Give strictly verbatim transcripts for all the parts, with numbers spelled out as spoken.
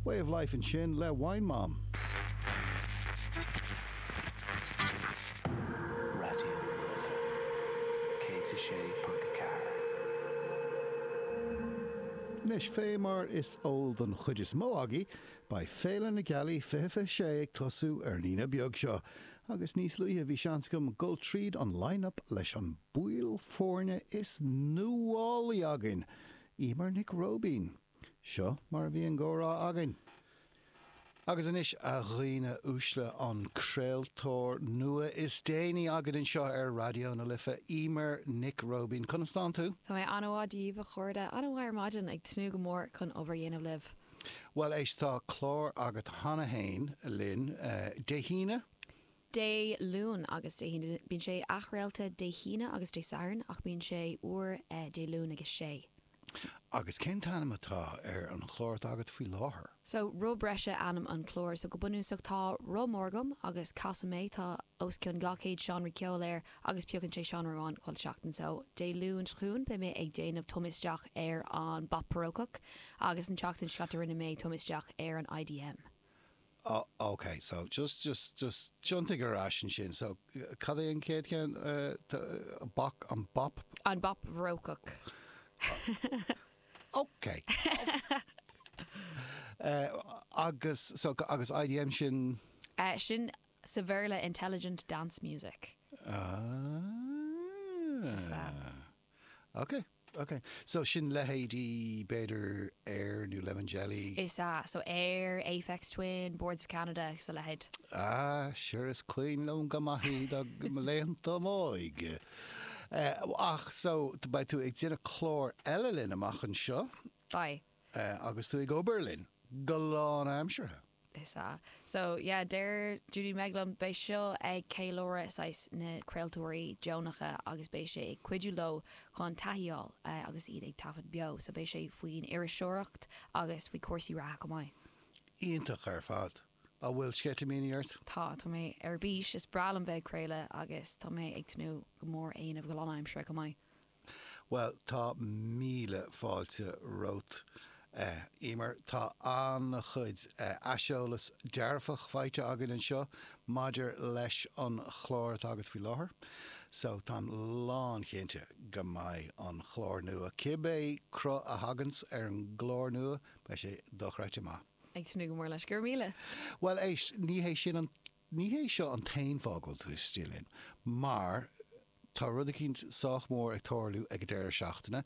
Way of Life ansin le Wine Mom. Raidió na Life céad a sé ponc a ceathair. Anois, fé mar is eol don chuid is mó agaibh, beidh Féile na Gealaí fiche fiche sé ag tosú ar an Aoine beag seo, agus níos luaithe bhí seans agam dul tríd an line-up leis an baill foirne is nuálaí againn, Emer Nic Róibín. Seo mar a bhí an comhrá againn. Agus anois, a dhaoine uaisle, an craoltóir nua is déanaí againn anseo ar Raidió na Life, Emer Nic Róibín. Conas tánn tú? Tá mé an-mhaith, Dia daoibh, a chairde, an-mhaith ar maidin, ag tnúth go mór chun obair a dhéanamh libh. Bhuel, éist, tá clár agat cheana féin linn Dé hAoine? Dé Luain agus Dé hAoine. Bíonn sé athchraolta Dé hAoine agus Dé Sathairn ach bíonn sé uair Dé Luain ag a sé. Agus cén t-ainm atá ar an chlár atá agat faoi láthair? So, Roth Breise ainm an chláir. So, go bunúsach tá roth mór agam agus casaim é, tá os cionn dhá chéad seánra ceoil air agus piocann sé seánra amháin chuile sheachtain. So, Dé Luain seo chugainn beidh mé ag déanamh tumadh isteach ar an bpop barócach agus an tseachtain seo caite rinne mé tumadh isteach ar an I D M. Oh, ok, so just, just, just tiontaigh ar ais ansin. So, cad é an chéad cheann? Bac, an bop? An bop barócach. Ok. Uh, agus, so, agus I D M sin? Uh, sin sa Bhéarla Intelligent Dance Music. Ah. Is ea. Ok, ok. So sin leithéidí b'fhéidir Air nó Lemon Jelly? Is ea, so Air, Aphex Twin, Boards of Canada sa leithéid. Ah, sure is cuimhin liom go maith iad mo laethanta m'óige. Uh, ach so beidh tú ag déanamh clár eile linn amach anseo Bye. uh, agus tú ag obair linn go lánaimseartha. Is ea. So yeah, deir Judy Meglum beidh seo ag ceiliúradh saghas na craoltóirí deonacha agus beidh sé ag cuidiú leo chun taithí a fháil uh, agus iad ag taifead beo, so beidh sé faoin iriseoireacht agus faoi cúrsaí reatha go maith. Iontach ar fad. An bhfuil sceitimíní ort? Tá tá mé ar bís. Is breá liom bheith ag craoladh agus tá mé ag tnúth go mór é a dhéanamh go lánaimseartha go maith. Well, tá míle fáilte romhat. Uh, Emer, tá an-chuid uh, aiseolas dearfach faighte againn anseo maidir leis an chlár atá agat faoi láthair. So táim lánchinnte go mbeidh an chlár nua. Cibé cruth a thaganns ar an gclár nua, beidh sé dochreidte maith. Ag tnúth go mór leis, go míle. Well, éist, ní hé sin an ní hé seo an t-aon fáth go bhfuil tú istigh linn, mar tá rud eicínt sách mór ag tarlú ag an deireadh seachtaine.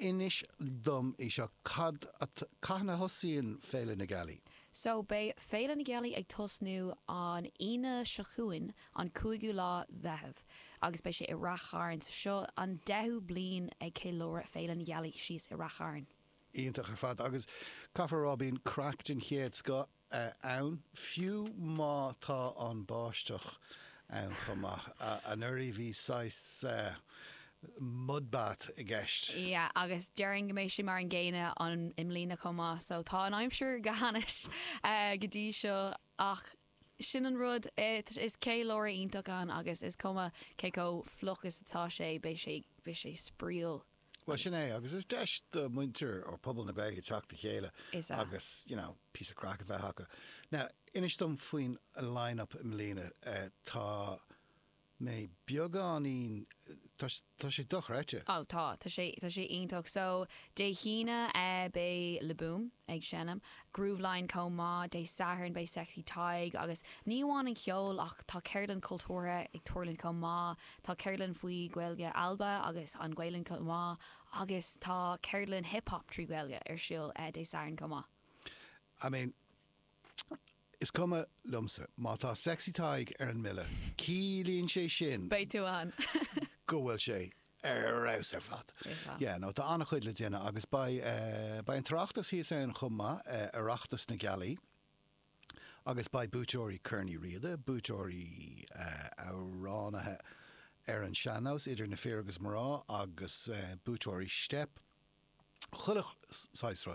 Inis dom é seo, cad cathain a thosaíonn Féile na Gealaí? So beidh Féile na Gealaí ag tosnú an Aoine seo chugainn, an cúigiú lá Mheitheamh, agus beidh sé i Rath Chairn. So seo an deichiú bliain ag ceiliúradh Féile na Gealaí síos i Rath Chairn. Iontach ar fad, agus caithfear a rá bíonn craic den chéad scoth ann, fiú má tá an báisteach ann chomh maith. Anuraidh bhí saghas mudbath i gceist. Yeah, agus déarfainn go mbeidh sé mar an gcéanna an i mbliana chomh maith, so tá an aimsir go hainnis uh, go dtí seo, ach sin an rud, is ceiliúradh iontach ann agus is cuma cé chomh fliuch is atá sé, beidh sé beidh sé spraíúil. Well, sin é, agus is deis do muintir or pobal na Gaeilge teacht le chéile Is ea. Agus you know, píosa craic a bheith acu. Now, inis dom faoin line-up i mbliana, uh, tá mé beagáinín, tá tá sé dochreidte. Ó tá tá sé tá sé iontach. So Dé hAoine uh, beidh Le Boom ag seinm, Grooveline chomh maith. Dé Sathairn beidh Sexy Tadhg, agus ní amháin an ceol ach tá ceardlann cultúrtha ag tarlú chomh maith, tá ceardlann faoi Ghaeilge Alba agus an Ghaelainn chomh maith, agus tá ceardlann hip-hop trí Ghaeilge ar siúl uh, Dé Sathairn chomh maith. I mean, is cuma liomsa má tá Sexy Tadhg ar an mbille, ciallaíonn sé sin Beidh tú ann. go bhfuil sé ar fheabhas ar fad. Is ea. Yeah, no, tá an-chuid le déanamh agus beidh uh, beidh an tOireachtas thíos ann chomh maith, uh, Oireachtas na Gealaí, agus beidh buaiteoirí Chorn Uí Riada, buaiteoirí uh, amhránaithe ar an sean-nós idir na fir agus mná, agus uh, buaiteoirí Steip. Chuile saghas rud.